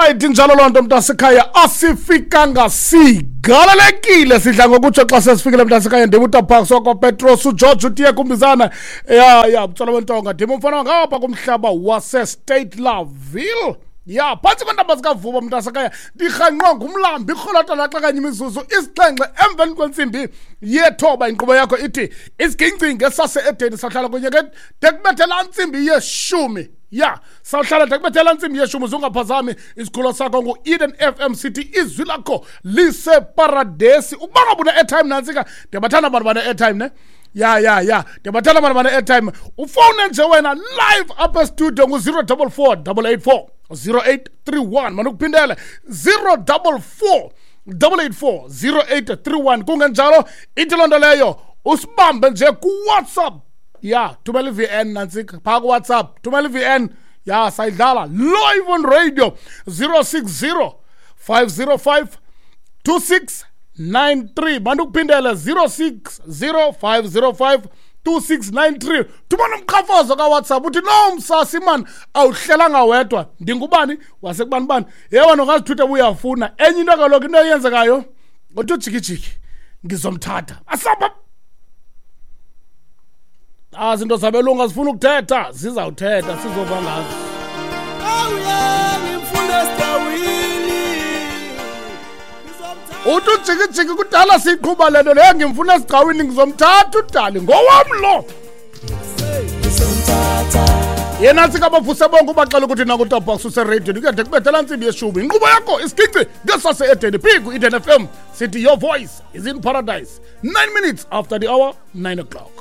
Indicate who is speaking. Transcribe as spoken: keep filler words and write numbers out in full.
Speaker 1: Right, injalo loo nto, mntasekhaya. Asifikanga, sigalelekile. Sidla ngokutsho xa sesifikile, mntasekhaya. Ndim uTaparks wakwaPetros, uGeorge utiye kumbizana. Ya ya, mtsolo wentonga, ndim umfana ngapha kumhlaba waseState Laville, ya, phantsi kweentaba zikaVuba, mntasekhaya. Ndirhanqwa ngumlambi irholota laxa kanye imizuzu isixhenxe emveni kwentsimbi yethoba. Inkqubo yakho ithi Isiginci Sase-Edeni. Sahlala kunye ke de kubethe laa ntsimbi yeshumi. Ya, sawuhlala de kubethe laa ntsimbi yeshumi. Zungaphazami, isikhululo sakho ngu-Eden F M City, izwi lakho liseparadesi. Ukuba ngaba une-airtime, nantsika, ndiyabathanda abantu bane-airtime ne. Ya ya ya, ndiyabathanda abantu bane-airtime. Ufowune nje wena live apha estudio ngu-zero double four double eight four zero eight three one. Manukuphindele, zero double four double eight four zero eight three one. Kungenjalo, ithi loo nto leyo usibambe nje kuWhatsApp. Ya, thumela i-V N, nantsika, phaa kuWhatsApp, thumela i-V N. Ya, sayidlala live on radio, zero six zero five zero five two six nine three. Bandukuphindele, zero six zero five zero five two six nine three. Thumela umqhafazo kaWhatsApp, uthi no msasi man, awuhlelanga wedwa, ndingubani wasekubani bani. Ye wena ungazithutha uyafuna enye into. Kaloku into eyenzekayo ngothi ujikijiki ngizomthatha asamba. Ah, zinto zabelungu azifuna ukuthetha, zizawuthetha, sizova ngazo.
Speaker 2: Awuye, ngimfuna esigcawini. Ngizomthatha.
Speaker 1: Uthi ujikijiki kudala siyiqhuba le nto leyo, ngimfuna esigcawini, ngizomthatha udali ngowam lo.
Speaker 2: Ngizomthatha.
Speaker 1: Yena sikabavuse bonke, ubaxela ukuthi nakuTabox useradiyweni kuyade kubethela ntsimbi yeshumi. Inkqubo yakho Isigici Ngesase-Edeni, phi? Ku-Eden F M. Sithi your voice is in paradise. Nine minutes after the hour, nine o'clock.